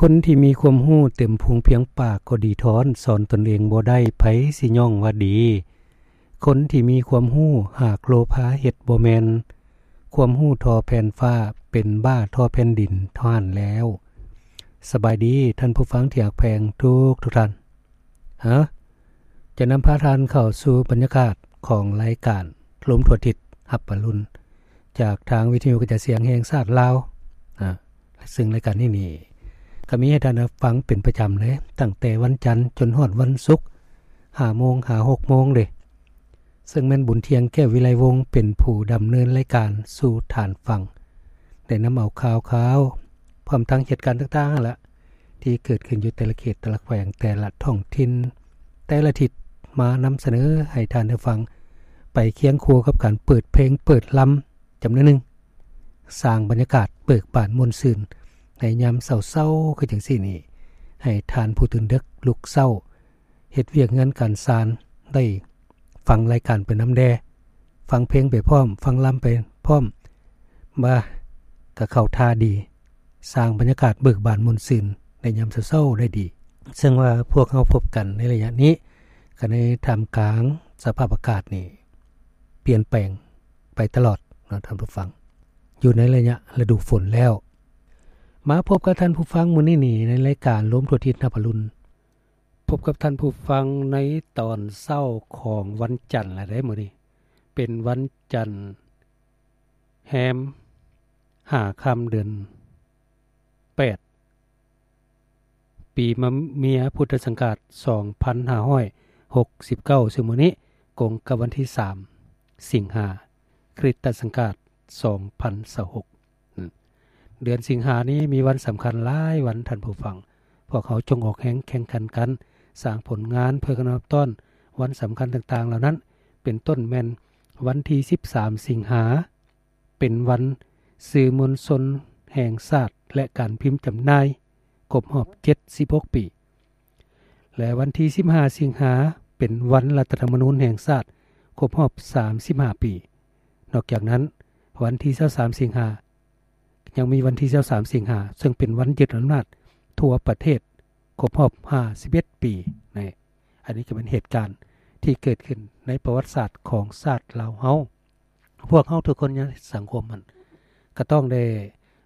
ຄົນທີ່ມີຄວາມຮູ້ເຕັມພູງພຽງປາກກໍດີທ້ອນ, ສອນຕົນເອງບໍ່ໄດ້ ໃຜຊິຍ້ອງວ່າດີ? ຄົນທີ່ມີຄວາມຮູ້ຫາກໂລພາເຮັດບໍ່ແມ່ນ, ຄວາມຮູ້ທໍ່ແຜ່ນຟ້າ ເປັນບ້າທໍ່ແຜ່ນດິນເທົ່ານັ້ນແລ້ວ. ສະບາຍດີທ່ານຜູ້ຟັງທີ່ຮັກແພງທຸກໆທ່ານ. ເອີ ຈະນຳພາທ່ານເຂົ້າສູ່ບັນຍາກາດຂອງລາຍການລົມທົ່ວທິດຮັບອະລຸນ ຈາກທາງວິທະຍຸກະຈາຍສຽງແຫ່ງຊາດລາວ. ອາ ຊຶ່ງລາຍການນີ້ນີ້ ກໍມີໃຫ້ທ່ານໄດ້ຟັງເປັນປະຈຳເລີຍ, ຕັ້ງແຕ່ວັນຈັນຈົນຮອດວັນສຸກ ຫ້າໂມງຫາຫົກໂມງເດ້. ເຊິ່ງແມ່ນບຸນທ່ຽງ ແກ້ວວິໄລວົງ ເປັນຜູ້ດຳເນີນລາຍການສູ່ທ່ານຟັງ, ໄດ້ນຳເອົາຂ່າວຄາວ ພ້ອມທັງເຫດການຕ່າງໆຫັ້ນລະ ທີ່ເກີດຂຶ້ນຢູ່ແຕ່ລະເຂດ ແຕ່ລະແຂວງ ແຕ່ລະທ້ອງຖິ່ນ ແຕ່ລະທິດ ມານຳສະເໜີໃຫ້ທ່ານໄດ້ຟັງ ໄປຄຽງຄູ່ກັບການເປີດເພງເປີດລຳຈຳນວນໜຶ່ງ, ສ້າງບັນຍາກາດເບີກບານມ່ວນຊື່ນໃນຍາມເຊົ້າໆຄືຈັ່ງຊີ້ນີ້ ໃຫ້ທ່ານຜູ້ຕື່ນເດິກລຸກເຊົ້າ ເຮັດວຽກງານການຊານ ໄດ້ຟັງລາຍການໄປນຳແດ່, ຟັງເພງໄປພ້ອມ, ຟັງລຳໄປພ້ອມ, ວ່າກໍເຂົ້າທ່າດີ, ສ້າງບັນຍາກາດເບີກບານມ່ວນຊື່ນໃນຍາມເຊົ້າໆໄດ້ດີ. ເຊິ່ງວ່າພວກເຮົາພົບກັນໃນໄລຍະນີ້ ກໍໃນທ່າມກາງສະພາບອາກາດນີ້ປ່ຽນແປງໄປຕະຫຼອດເນາະທ່ານຜູ້ຟັງ, ຢູ່ໃນໄລຍະລະດູຝົນແລ້ວ. ມາພົບກັບທ່ານຜູ້ຟັງມື້ນີ້ນີ້ ໃນລາຍການລົມທົ່ວທິດຮັບອະລຸນ. ພົບກັບທ່ານຜູ້ຟັງໃນຕອນເຊົ້າຂອງວັນຈັນລະເດ້ມື້ນີ້, ເປັນວັນຈັນແຮມຫ້າຄ່ຳເດືອນແປດ ປີມະເມຍ ພຸດທະສັງກາດສອງພັນຫ້າຮ້ອຍຫົກສິບເກົ້າ ຊຶ່ງມື້ນີ້ກົງກັບວັນທີສາມສິງຫາ ຄຣິສຕະສັງກາດສອງພັນຊາວຫົກ. ເດືອນສິງຫານີ້ມີວັນສຳຄັນຫຼາຍວັນທ່ານຜູ້ຟັງ. ພວກເຮົາຈົ່ງອອກແຮງແຂ່ງຂັນກັນ ສ້າງຜົນງານເພື່ອການຮັບຕ້ອນວັນສຳຄັນຕ່າງໆເຫຼົ່ານັ້ນ, ເປັນຕົ້ນແມ່ນວັນທີສິບສາມສິງຫາ ເປັນວັນສື່ມວນຊົນແຫ່ງຊາດ ແລະ ການພິມຈຳໜ່າຍຄົບຮອບເຈັດສິບຫົກປີ ແລະ ວັນທີສິບຫ້າສິງຫາ ເປັນວັນລັດຖະທຳມະນູນແຫ່ງຊາດຄົບຮອບສາມສິບຫ້າປີ. ນອກຈາກນັ້ນ ວັນທີຊາວສາມສິງຫາ ຍັງມີວັນທີຊາວສາມສິງຫາ ເຊິ່ງເປັນວັນຍຶດອຳນາດທົ່ວປະເທດຄົບຮອບຫ້າສິບເອັດປີ. ນີ້ ອັນນີ້ກໍເປັນເຫດການທີ່ເກີດຂຶ້ນໃນປະຫວັດສາດຂອງຊາດລາວເຮົາ. ພວກເຮົາທຸກຄົນໃນສັງຄົມຫັ້ນ ກໍຕ້ອງໄດ້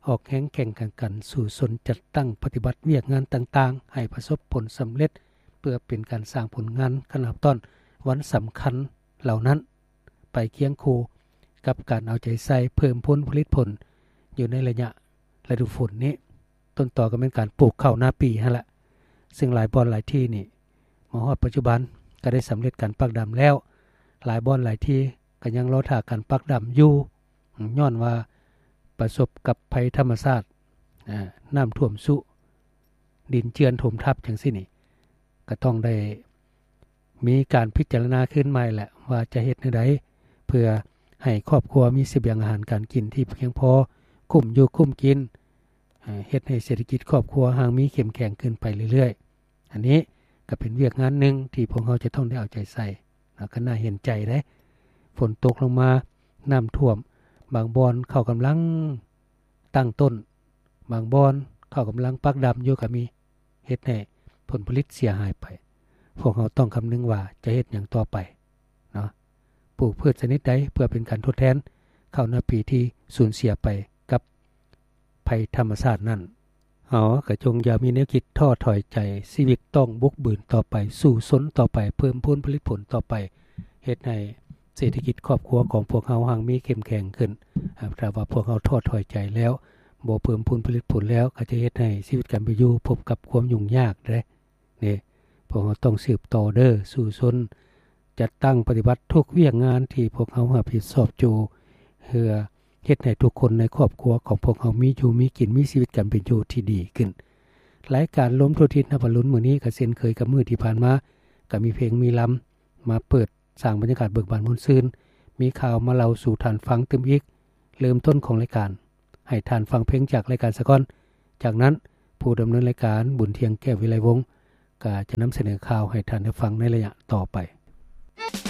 ອອກແຮງແຂ່ງຂັນກັນ ສູ້ຊົນຈັດຕັ້ງປະຕິບັດວຽກງານຕ່າງໆ ໃຫ້ປະສົບຜົນສຳເລັດ ເພື່ອເປັນການສ້າງຜົນງານການຮັບຕ້ອນວັນສຳຄັນເຫຼົ່ານັ້ນ ໄປຄຽງຄູ່ກັບການເອົາໃຈໃສ່ເພີ່ມຜົນຜະລິດຜົນຢູ່ໃນໄລຍະລະດູຝົນນີ້. ຕົ້ນຕໍກໍແມ່ນການປູກເຂົ້ານາປີຫັ້ນລະ, ເຊິ່ງຫຼາຍບ່ອນຫຼາຍທີ່ນີ້ ມາຮອດປັດຈຸບັນກໍໄດ້ສຳເລັດການປັກດຳແລ້ວ, ຫຼາຍບ່ອນຫຼາຍທີ່ກໍຍັງລໍຖ້າການປັກດຳຢູ່ ຍ້ອນວ່າປະສົບກັບໄພທຳມະຊາດ, ອາ, ນ້ຳຖ້ວມຊຸ, ດິນເຈື່ອນຖົມທັບຈັ່ງຊີ້ນີ້, ກໍຕ້ອງໄດ້ ມີການພິຈາລະນາຄືນໃໝ່ແຫຼະ ວ່າຈະເຮັດແນວໃດ ເພື່ອໃຫ້ຄອບຄົວມີສະບຽງອາຫານການກິນທີ່ພຽງພໍ, ກຸ້ມຢູ່ກຸ້ມກິນ, ເຮັດໃຫ້ເສດຖະກິດຄອບຄົວຮັ່ງມີເຂັ້ມແຂງຂຶ້ນໄປເລື້ອຍໆ. ອັນນີ້ກໍເປັນວຽກງານໜຶ່ງທີ່ພວກເຮົາຈະຕ້ອງໄດ້ເອົາໃຈໃສ່, ກໍໜ້າເຫັນໃຈເດ້. ຝົນຕົກລົງມາ, ນ້ຳຖ້ວມ, ບາງບ່ອນເຂົ້າກຳລັງຕັ້ງຕົ້ນ, ບາງບ່ອນເຂົ້າກຳລັງປັກດຳຢູ່ກໍມີ. ເຮັດໃຫ້ຜົນຜະລິດເສຍຫາຍໄປ. ພວກເຮົາຕ້ອງຄຳນຶງວ່າຈະເຮັດຫຍັງຕໍ່ໄປເນາະ, ປູກພືດຊະນິດໃດເພື່ອເປັນການທົດແທນເຂົ້ານາປີທີ່ສູນເສຍໄປກັບໄພທຳມະຊາດນັ້ນ. ເຮົາກໍຈົ່ງຢ່າມີແນວຄິດທໍ້ຖອຍໃຈ, ຊີວິດຕ້ອງບຸກບືນຕໍ່ໄປ, ສູ້ຊົນຕໍ່ໄປ, ເພີ່ມພູນຜະລິດຜົນຕໍ່ໄປ, ເຮັດໃຫ້ ເສດຖະກິດຄອບຄົວຂອງພວກເຮົາຮັ່ງມີເຂັ້ມແຂງຂຶ້ນ. ຖ້າວ່າພວກເຮົາທໍ້ຖອຍໃຈແລ້ວ, ບໍ່ເພີ່ມພູນຜະລິດຜົນແລ້ວ, ກໍຈະເຮັດໃຫ້ຊີວິດການເປັນຢູ່ພົບກັບຄວາມຫຍຸ້ງຍາກເດ້. ນີ້ ພວກເຮົາຕ້ອງສືບຕໍ່ເດີ້, ສູ້ຊົນ, ຈັດຕັ້ງປະຕິບັດທຸກວຽກງານທີ່ພວກເຮົາຮັບຜິດຊອບຢູ່, ເພື່ອເຮັດໃຫ້ທຸກຄົນໃນຄອບຄົວຂອງພວກເຮົາມີຢູ່ມີກິນ, ມີຊີວິດການເປັນຢູ່ທີ່ດີຂຶ້ນ. ລາຍການລົມທົ່ວທິດນະ ວັນລຸນມື້ນີ້ ກໍເຊັ່ນເຄີຍກັບມື້ທີ່ຜ່ານມາ, ກໍມີເພງມີລຳ ມາເປີດສ້າງບັນຍາກາດເບີກບານມ່ວນຊື່ນ, ມີຂ່າວມາເລົ່າສູ່ທ່ານຟັງຕື່ມອີກ. ເລີ່ມຕົ້ນຂອງລາຍການ, ໃຫ້ທ່ານຟັງເພງຈາກລາຍການສາກ່ອນ. ຈາກນັ້ນ, ຜູ້ດຳເນີນລາຍການ ບຸນທ່ຽງ ແກ້ວວິໄລວົງ ກໍຈະນຳສະເໜີຂ່າວໃຫ້ທ່ານໄດ້ຟັງໃນໄລຍະຕໍ່ໄປ.